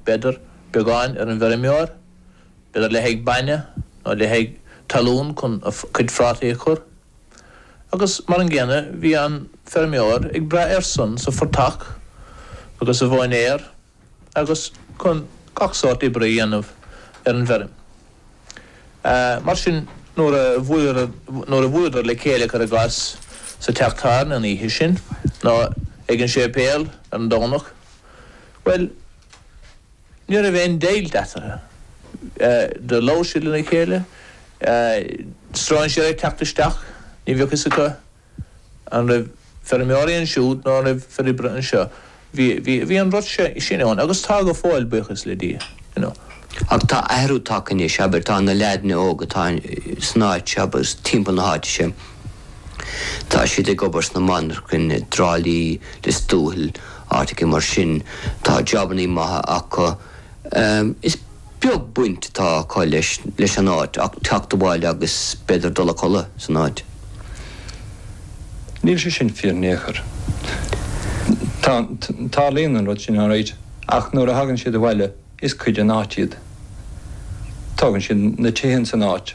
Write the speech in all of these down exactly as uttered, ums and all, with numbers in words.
b'fhéidir, beagán ar an bhfeirmeoir, b'fhéidir le haghaidh bainne nó le haghaidh talún chun a chuid phrátaí a chur. Agus mar an gcéanna bhí an feirmeoir ag brath airsean sa phortach agus sa mhóinéar agus chun gach sórt oibre a dhéanamh ar an bhfeirm. Mar sin nuair a nuair a bhuaileadar le chéile cuir i gcás sa teach tábhairne an oíche sin nó ag an séipéal ar an Domhnach, bhuel, ní raibh aon deighilt eatarthu. Do labhair siad lena chéile, stróinséir ag teacht isteach, ní bheadh fhios acu an raibh feirmeoirí ansiúd nó an raibh fir oibre anseo. Bhí, bhí, bhí an rud sin ann agus tá go fóill, buíochas le Dia, you know. Ach tá athrú tagtha anois, abair, tá na leaideanna óga atá san áit seo agus timpeall na háite seo, tá siad ag obair sna monarchain i dTrá Lí, Lios Tuathail, áiteacha mar sin, tá jabannaí maithe acu. Is beag baint atá acu leis, leis an áit ach teacht abhaile agus b'fhéidir dul a chodladh san áit. Níl sé sin fíor in aon chor. Tá, tarlaíonn an rud sin alright, ach nuair a thagann siad abhaile is cuid den áit iad. Tógann siad na tithe san áit.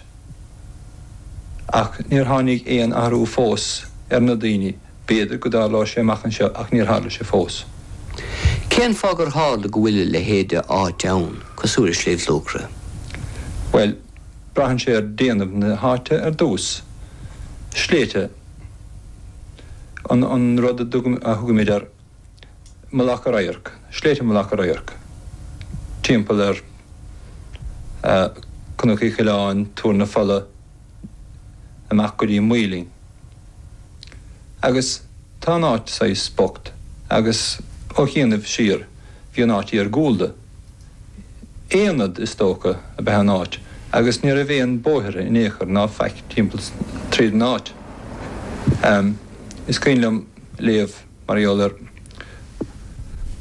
Ach níor tháinig aon athrú fós ar na daoine, b'fhéidir go dtarlóidh sé amach anseo ach níor tharla sé fós. Cén fáth gur tharla go bhfuil a leithéid de áit ann, cosúil le Sliabh Luachra? Bhuel, braitheann sé ar déanamh na háite ar dtús. Sléibhte an an rud a thugaimid ar Mhullach an Radhairc, Sléibhte Mhullach an Radhairc, timpeall ar Cnoc Uí Choileáin, Tuar na Fola, amach go dtí an Maoilinn. Agus tá an áit saghas bocht agus ó chianaibh siar bhí an áit iargúlda. Aonad, is dócha, ab ea an áit agus ní raibh aon bóithre in aon chor ná faic timpeall tríd an áit. Is cuimhin liom léamh mar gheall ar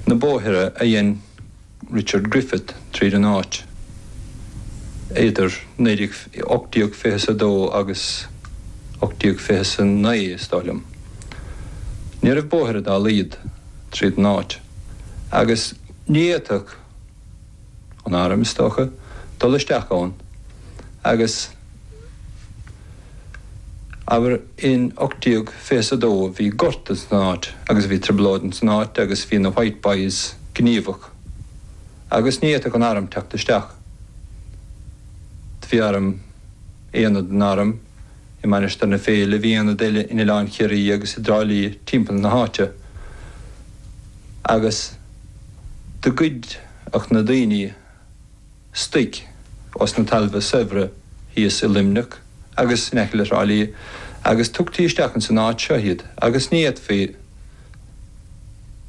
na bóithre a dhein Richard Griffith tríd an áit idir naoi déag, ocht déag fiche is a dó agus ocht déag fiche is a naoi, is dóigh liom. Ní raibh bóithre dá laghad tríd an áit agus ní fhéadfadh an arm, is dócha, dul isteach ann agus abair in ocht déag fiche is a dó bhí gorta san áit agus bhí trioblóid san áit agus bhí na White Boys gníomhach agus ní fhéadfadh an arm teacht isteach. Bhí arm, aonad den arm i Mainistir na Féile, bhí aonad eile in Oileán Chiarraí agus i dTrá Lí timpeall na háite agus do ghoideadh na daoine stoic os na talmha saibhre thíos i Luimneach agus in aice le Trá Lí agus tugtaí isteach ins an áit seo iad agus ní fhéadfaí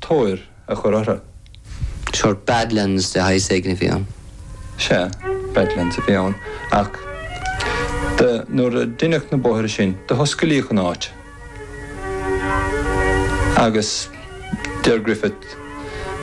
tóir a chur orthu. Sórt badlands de shaghas éigin a bhí ann. Sea, badlands a bhí ann ach do, nuair a deineadh na bóithre sin do hoscailíodh an áit agus deir Griffith,